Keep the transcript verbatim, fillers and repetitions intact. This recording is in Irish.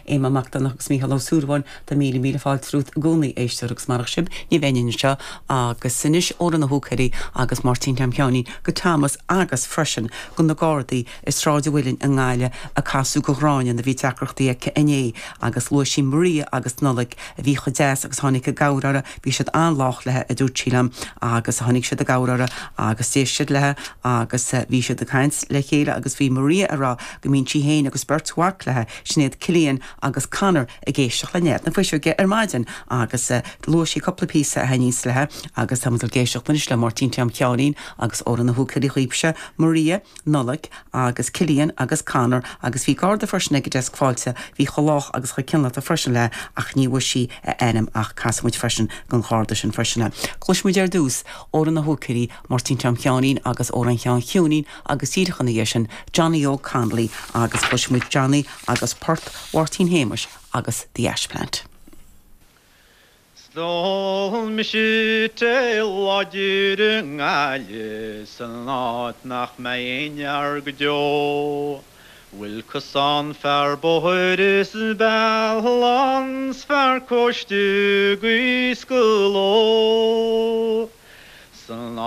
Éamonn Mac Donncha agus Mícheál Ó Súilleabháin tá míle míle fáilte romhat i gcónaí éisteoir agus marach sibh ní bheinn anseo agus anois Odhrán Ó hUaithigh agus Máirtín Tom Sheáinín go Thomas agus freisin go na Gardaí i Sráid an Mhuilinn i nGaillimh a casadh go Gráinne a bhí deacrachtaí aici inné agus luaigh sí Maria agus Nollaig a bhí chomh deas agus tháinig i gcabhair uirthi bhí siad an-lách léi a dúirt sí liom agus tháinig siad i gcabhair uirthi agus d'éist siad léi agus bhí siad ag caint le chéile agus bhí Maria ag rá go mbíonn sí féin agus beirt mhac léi Sinéad Cillian agus Conor ag éisteacht le Nead na Fuiseoige ar maidin agus uh, luaigh sí cúpla píosa a thaitníonn léi agus tá ag éisteacht anois le Máirtín Tom Sheáinín agus Odhrán Ó hUaithigh chugaibhse Maria Nollaig agus Cillian agus Conor agus bhí garda freisin ag deasc fáilte bhí chomh lách agus chomh cineálta freisin léi ach ní bhfuair sí a ainm ach casfaimid freisin don gharda sin freisin. Cloisfimid ar dtús Odhrán Ó hUaithigh Máirtín Tom Sheáinín agus Odhrán Sheáin Chiúinín agus díreach ina dhiaidh sin Johnny Óg Connolly agus cloisfimid Johnny agus port Mháirtín Shéamuis agus The Ash Plant. D'ól mise tae láidir i nGaillimh san áit nach mbeidh aon fhear go deo. Bhfuil cosán fear bóthair is bealán fear cóiste gaois go ló. San